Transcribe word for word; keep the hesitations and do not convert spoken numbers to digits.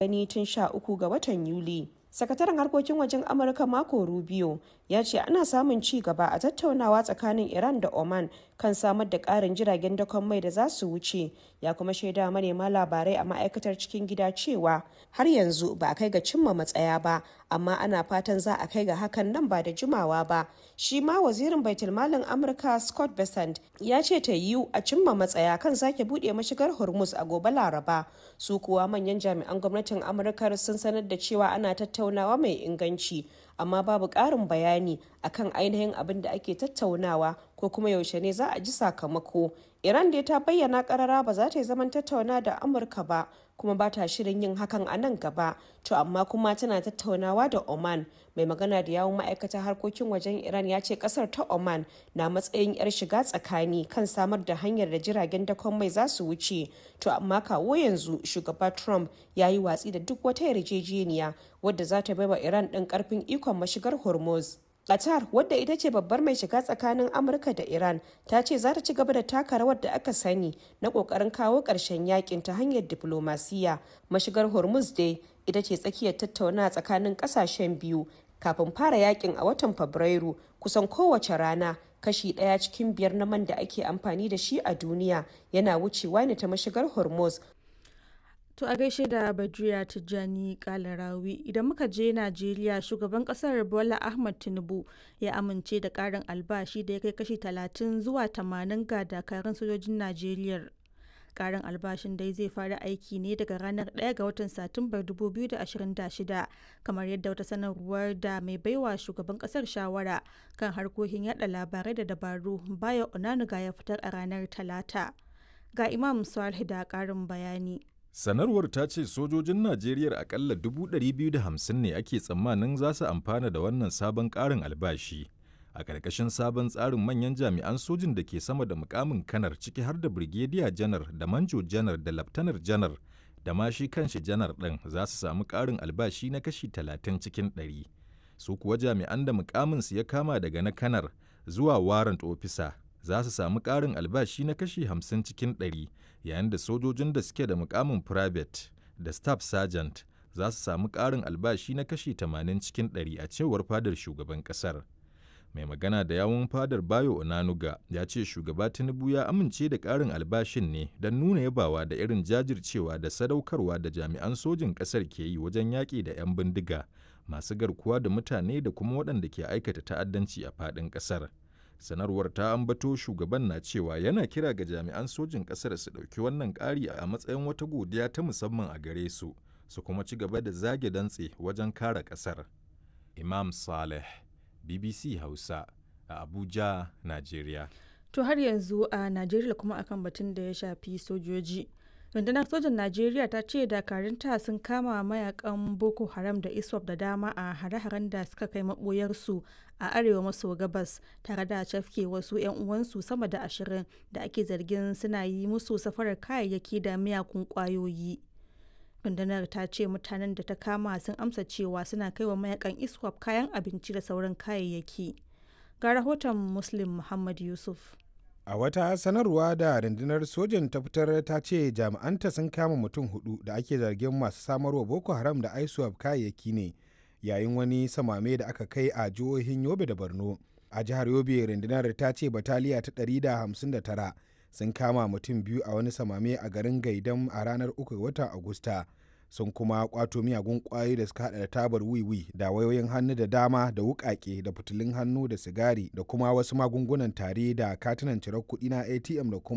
gani tun sha uku ga watan Yuli. Sakataren harkokin wajen Amurka Marco Rubio ya ce ana samun ci gaba a tattaunawa tsakanin Iran da Oman kan samar da ƙarin jiragen dakon mai da za su wuce, ya kuma shaidawa manema labarai a ma'aikatar cikin gida cewa har yanzu ba a kai ga cimma matsaya ba, amma ana fatan za a kai ga hakan nan ba da jimawa ba. Shi ma wazirin baitulmalin Amurka Scott Bessent ya ce ta yiwu a cimma matsaya kan sake buɗe mashigar Hormuz a gobe Laraba. Su kuwa manyan jami'an gwamnatin Amurkar sun sanar da cewa ana tattaunawa mai inganci, amma babu ƙarin bayani akan ainihin abin da ake tattaunawa ko kuma yaushe ne za a ji sakamako. Iran dai ta bayyana karara ba za ta yi zaman tattauna da Amurka ba, kuma ba ta shirin yin hakan a nan gaba, to amma kuma tana tattaunawa da Oman. Mai magana da yawun ma'aikatar harkokin wajen Iran ya ce kasar ta Oman na matsayin yar shiga tsakani kan samar da hanyar da jiragen dakon mai za su wuce, to amma kawo yanzu shugaba Trump ya yi watsi da duk wata yarjejeniya wadda za ta baiwa Iran ɗin karfin ikon mashigar Hormuz. Qatar, wadda ita ce babbar mai shiga tsakanin Amurka da Iran, ta ce za ta ci gaba da taka rawar da aka sani na kokarin kawo ƙarshen yakin ta hanyar diplomasiya. Mashigar Hormuz dai ita ce tsakiyar tattaunawa tsakanin ƙasashen biyu kafin fara yakin a watan Fabrairu. Kusan kowace rana kashi ɗaya cikin biyar na man da ake amfani da shi a duniya yana wucewa ne ta mashigar Hormuz. To a gaishe da Badriya Tijjani Kalarawi. Idan muka je Najeriya, shugaban kasar Bola Ahmad Tinubu ya amince da karin albashi da ya kai kashi talatin zuwa tamanin ga dakarun sojojin Najeriya. Karin albashin dai zai fara aiki ne daga ranar ɗaya ga watan Satumbar dubu biyu da ashirin da shida, kamar yadda wata sanarwar da mai baiwa shugaban kasar shawara kan harkokin yada labarai da dabaru, Bayo Onanuga, ya fitar a ranar Talata. Ga Imam Salih da karin bayani. Sanarwar ta ce sojojin Najeriya akalla dubu ɗari biyu da hamsin ne ake tsammanin za su amfana da wannan sabon ƙarin albashi. A ƙarƙashin sabon tsarin, manyan jami'an sojin da ke sama da mukamin kanar, ciki har da Birgediya Janar da Manjo Janar da Laftanar Janar da ma shi kanshi Janar ɗin, za su samu ƙarin albashi na kashi talatin cikin ɗari. Su kuwa jami'an da mukaminsu ya kama daga na kanar zuwa warrant officer za su samu ƙarin albashi na kashi hamsin cikin ɗari, yayin da sojojin da suke da mukamin private da staff sergeant za su samu ƙarin albashi na kashi tamanin cikin ɗari, a cewar fadar shugaban ƙasar. Mai magana da yawun fadar, Bayo Onanuga, ya ce shugaba Tinubu ya amince da ƙarin albashin ne don nuna yabawa da irin jajircewa da sadaukarwa da jami'an sojin ƙasar ke yi wajen yaƙi da 'yan bindiga masu garkuwa da mutane da kuma waɗanda ke aikata ta'addanci a faɗin ƙasar. Sanarwar ta ambato shugaban na cewa yana kira ga jami'an sojin ƙasar su ɗauki wannan ƙari a matsayin wata godiya ta musamman a gare su, su kuma ci gaba da zage dantse wajen kare ƙasar. Imam Saleh, B B C Hausa, a Abuja, Najeriya. To har yanzu a Najeriya kuma, akan batun da ya shafi sojoji. Rundunar sojan Najeriya ta ce dakarunta sun kama mayakan Boko Haram da ISWAP da dama a hare-haren da suka kai maboyarsu a arewa maso gabas, tare da cafke wasu 'yan uwansu sama da ashirin da ake zargin suna yi musu safarar kayayyaki da miyakun kwayoyi. Rundunar ta ce mutanen da ta kama sun amsa cewa suna kai wa mayakan ISWAP kayan abinci da sauran kayayyaki. Ga rahoton Muslim Muhammad Yusuf. A wata sanarwa da rundunar sojan ta fitar, ta ce jami'anta sun kama mutum hudu da ake zargin masu samarwa Boko Haram da ISWAP kayayyaki ne yayin wani samame da aka kai a jihohin Yobe da Borno. A jihar Yobe, rundunar ta ce bataliya ta ɗari da hamsin da tara sun kama mutum biyu a wani samame a garin Gaidam a ranar uku ga watan Agusta. Sun kuma kwato miyagun kwayoyi da suka hada da tabar wiwi da wayoyin hannu da dama da wukake da fitilun hannu da sigari da kuma wasu magungunan tare da katunan cirar kuɗi na A T M da kuma